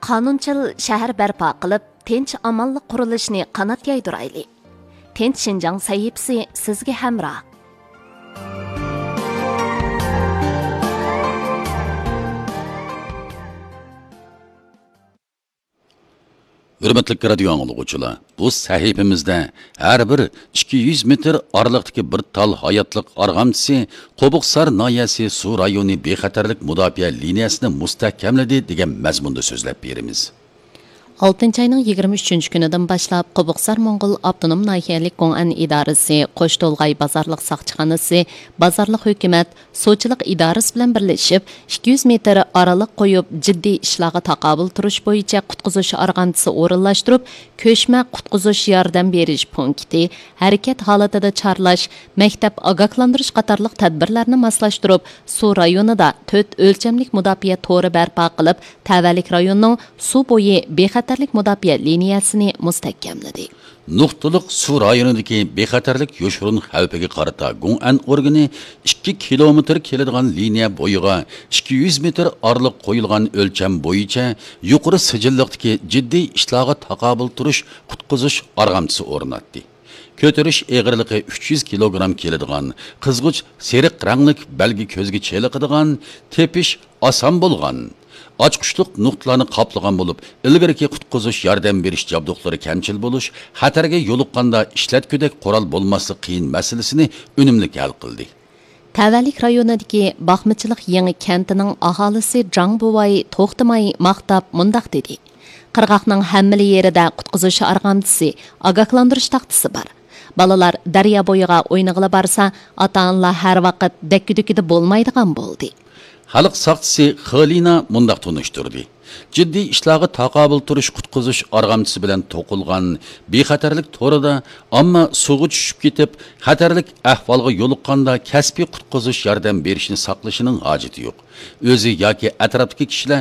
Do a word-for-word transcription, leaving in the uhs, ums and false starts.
قانۇنچىل شەھەر بەرپا قىلىپ، تىنچ-ئامانلىق قۇرۇلۇشىنى قانات يايدۇرايلى. تىنچ شىنجاڭ سەھىپىسى سىزگە ھەمراھ. ھۆرمەتلىك رادىيو ئاڭلىغۇچىلار، بۇ سەھىپىمىزدە ھەر بىر ئىككى يۈز مېتىر ئارىلىقتىكى بىر تال ھاياتلىق ئارغامچىسى قوبۇقسار ناھىيەسى سۇ رايونى بىخەتەرلىك مۇداپىئە لىنىيەسىنى مۇستەھكەملىدى دېگەن مەزمۇندا سۆزلەپ بېرىمىز. ئالتىنچى ئاينىڭ يىگىرمە ئۈچىنچى كۈنىدىن باشلاپ، قوبۇقسار موڭغۇل ئاپتونوم ناھىيەلىك گوڭئەن ئىدارىسى، قوشتولغاي بازارلىق ساقچىخانىسى، بازارلىق ھۆكۈمەت، سۇچىلىق ئىدارىسى بىلەن بىرلىشىپ، ئىككى يۈز مېتىر ئارىلىق قويۇپ، جىددىي ئىشلارغا تاقابىل تۇرۇش بويىچە قۇتقۇزۇش ئارغامچىسى ئورۇنلاشتۇرۇپ، كۆچمە قۇتقۇزۇش ياردەم بېرىش پونكىتى، ھەرىكەت ھالىتىدە چارلاش، مەكتەپ ئاگاھلاندۇرۇش قاتارلىق تەدبىرلەرنى ماسلاشتۇرۇپ، سۇ رايونىدا تۆت ئۆلچەملىك مۇداپىئە تورى بەرپا قىلىپ، تەۋەلىك رايوننىڭ سۇ بويى بىخەتەرلىك مۇداپىئە لىنىيەسىنى مۇستەھكەملىدى. نۇقتىلىق سۇ رايونىدىكى بىخەتەرلىك يوشۇرۇن خەۋپىگە قارىتا گوڭئەن ئورگىنى ئىككى كىلومېتىر كېلىدىغان لىنىيە بويىغا ئىككى يۈز مېتىر ئارىلىق قويۇلغان ئۆلچەم بويىچە يۇقىرى سىجىللىقتىكى جىددىي ئىشلارغا تاقابىل تۇرۇش قۇتقۇزۇش ئارغامچىسى ئورناتتى. كۆتۈرۈش ئېغىرلىقى ئۈچ يۈز كىلوگرام كېلىدىغان، قىزغۇچ سېرىق رەڭلىك بەلگە كۆزگە چېلىقىدىغان، تېپىش ئاسان بولغان، ئاچقۇچلۇق نۇقتىلارنى قاپلىغان بولۇپ، ئىلگىرىكى قۇتقۇزۇش ياردەم بېرىش جابدۇقلىرى كەمچىل بولۇش، خەتەرگە يولۇققاندا ئىشلەتكۈدەك قورال بولماسلىق قىيىن مەسىلىسىنى ئۈنۈملۈك ھەل قىلدى. تەۋەلىك رايونىدىكى باقمىچىلىق يېڭى كەنتىنىڭ ئاھالىسى جاڭ بوۋاي توختىماي ماختاپ مۇنداق دېدى: قىرغاقنىڭ ھەممىلا يېرىدە قۇتقۇزۇش ئارغامچىسى، ئاگاھلاندۇرۇش تاختىسى بار. بالىلار دەريا بويىغا ئوينىغىلى بارسا، ئاتا-ئانىلار ھەر ۋاقىت دەككە-دۈككىدە بولمايدىغان بولدى. خەلق ساقچىسى خېلىنا مۇنداق تونۇشتۇردى: جىددىي ئىشلارغا تاقابىل تۇرۇش قۇتقۇزۇش ئارغامچىسى بىلەن توقۇلغان بىخەتەرلىك تورىدا ئامما سۇغا چۈشۈپ كېتىپ، خەتەرلىك ئەھۋالغا يولۇققاندا كەسپىي قۇتقۇزۇش ياردەم بېرىشنى ساقلىشىنىڭ ھاجىتى يوق. ئۆزى ياكى ئەتراپتىكى كىشىلەر